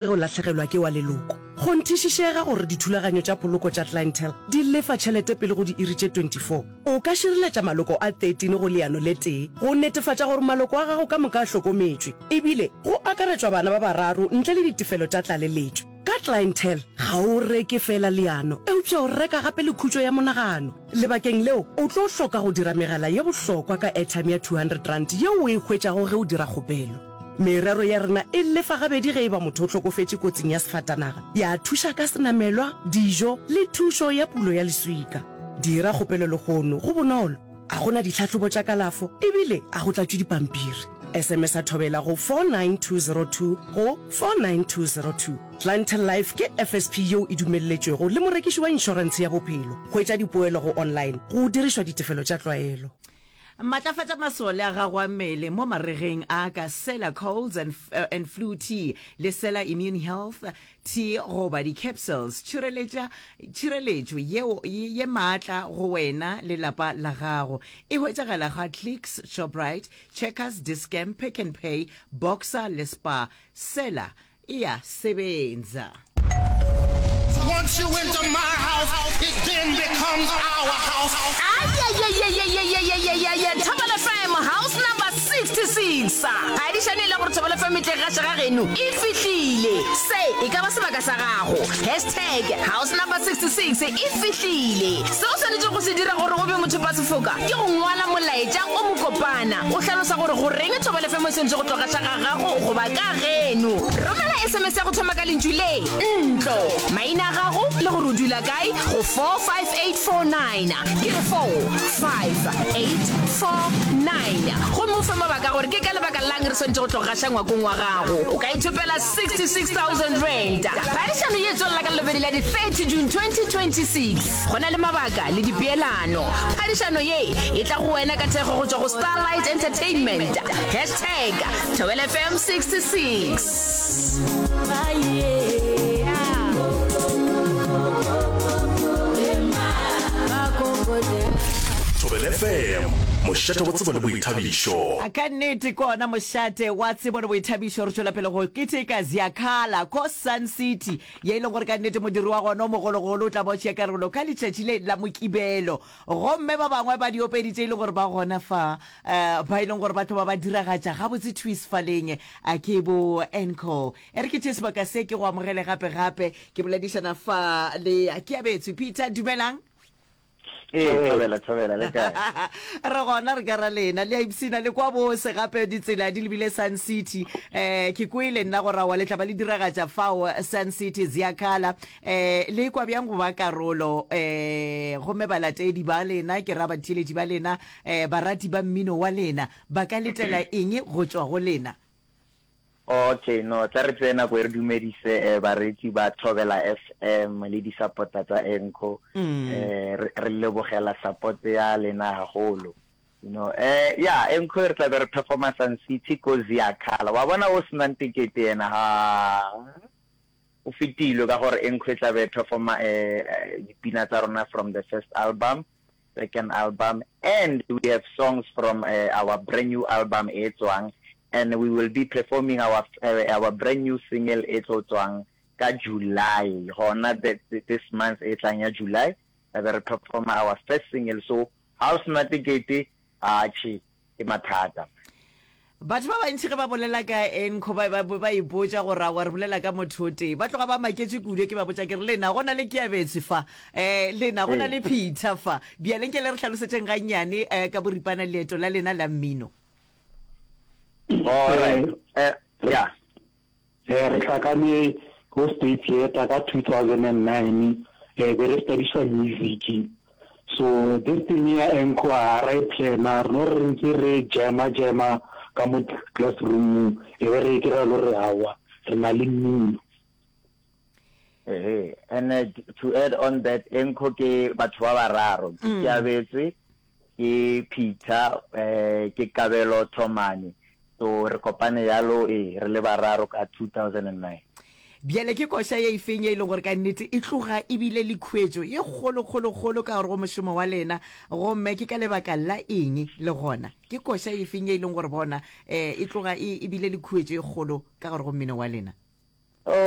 Ge o lahlegelwa ke wa leloko, kgonthišišega gore dithulaganyo tša poloko tša Clientele di lefa tšhelete pele go diiri tše 24. O ka šireletša maloko a 13 go leano le tee go netefatša gore maloko a gago ka moka a hlokometšwe, ebile go akaretšwa bana ba bararo ntle le ditefelo tša tlaleletšo. Ka Clientele, ga o reke feela leano, eupša o reka gape le khutšo ya monagano. Lebakeng leo, o tlo hloka go dira megala ye bohlokwa ka airtime ya R200 yeo o e hwetšago ge o dira kgopelo. Merero ya rena e lefa gabedi ge e ba motho o hlokofetše kotsing ya sefatanaga, ya thuša ka senamelwa, dijo le thušo ya pulo ya leswika. Dira kgopelo lehono, go bonolo, a go na ditlhahlobo tša kalafo e bile a go tlatšwe dipampiri. SMS-a Thobela go 49202 go 49202. Clientele Life ke FSP yeo e dumelletšwego le morekiši wa inšorentshe ya bophelo. Hwetša dipoelo go online go dirišwa ditefelo tša tlwaelo. Matlafatša masole a gago a mmele mo maregeng a ka Sela Colds and, uh, and Flu Tea le Sela Immune Health Tea goba di-capsules. Tšhireletša tšhireletšo yeo ye maatla go wena le lapa la gago. E hwetšagala ga Clicks, Shoprite, Checkers, Dis-Chem, Pick n Pay, Boxer le Spar. Sela E a sebenza. Once you enter my house, it then becomes our house. Ayayayayayayayayaya Thobela FM house number 66. Phadišano e le gore Thobela FM e tle gaša ga geno e fihlile. Se e ka ba sebaka sa gago. Hashtag house number 66 e fihlile. Se o swanetšego go se dira gore o be mothopasefoka ke go ngwala molaetša o mokopana o hlalosa gore goreng Thobela FM e swanetše go tlo gaša ga gago goba ka geno. Romela SMS ya go thoma ka lentšu le, ntlo, maina a gago le gore o dula kae go 45849. Ke re 45849. Gomme o fe mabaka a gore ke ka lebaka la'ng re swanetše go tlo gaša ngwakong wa gago. O ka ithopela R66,000. Phadišano ye e tswelela ka Lobedi la di 30 June 2026. Go na le mabaka le dipeelano. Phadišano ye e tla go wena ka thekgo go tšwa go Starlight Entertainment. Hashtag Thobela FM 66. Thobela FM, mošate wa tsebo le boithabišo. Ka nnete ke ona mošate wa tsebo le boithabišo. Re tšwela pele go keteka Ziyakhala ko Sun City, ye e leng gore ka nnete modiri wa gona o mogologolo o tla ba o tšea karolo ka letšatši le la Mokibelo. Gomme ba bangwe ba diopedi tše e leng gore ba gona fa, um ba e leng gore ba tlo ba ba diragatša gabotse thwi sefaleng, a ke bo Encore. E re ke tšee sebaka se ke go amogele gape gape, ke boledišana fa le Keabetswe Peter. Dumelang. Ee, thobela, thobela, le kae? Re gona, re ka ra lena. Le a ipshina, le kwa bose gape ditsela di lebile Sun City. Eh, ke kwele nna gore aowa le tla ba le diragatša fao Sun City, Ziyakhala. Eh, le kwa bjang go ba karolo? Eh, gomme balatedi ba lena, ke ra batheeletši ba lena, eh, barati ba mmino wa lena, ba ka letela eng go tšwa go lena? Okay, no, tla re tseye nako e re dumedise eh, bareetsi ba Thobela FM le di-supporter tsa Enco. Eh, re, re lebogela support ya lena haholo. You know, eh, ya, Enco re tla be re performa Sun City ko Ziyakhala. Wa bona o senang tekete yena, ha, o fetilwe ka gore Enco e tla be e performa eh, eh, dipina tsa rona from the first album, second album and we have songs from uh, our brand new album e tswang and we will be performing our uh, our brand new single e tlo tswang ka July gona this month e tlang ya July re be re performa our first single so ha o sena tekete atjhe ke mathata. Batho ba bantši ge ba bolela ka Enco ba ba ba ipotša gore aowa re bolela ka motho o tee. Ba tloga ba maketše kudu ke ba botša ke re lena go na le Keabetswe fa, um lena go na le Peter fa. Bjale nke le re hlalosetšeng gannyane um ka boripana leeto la lena la mmino. Alright, eh, yeah. Eh, re hlakane ko State Theatre ka 2009, eh, be re studiša music. So this thing ya Enco ga ra e plana, re no re ntse re jama jama ka mo classroom-ong, e be re kry-a le gore aowa re na le mmino. Ehe, and uh, to add on that, Enco ke batho ba bararo, ke Keabetswe, ke Peter, eh, ke Kabelo Thomane. So re kopane yalo, ee, re le bararo ka 2009. Bjale ke koša ye efeng ye e leng gore ka nnete e tloga e bile le khuetšo ye kgolo, kgolo, kgolo ka gare go mošomo wa lena, gomme ke ka lebaka la eng? Le gona ke koša efeng ye e leng gore bona um e tloga e, e bile le khuetšo ye kgolo ka gare go mmino wa lena? Oh.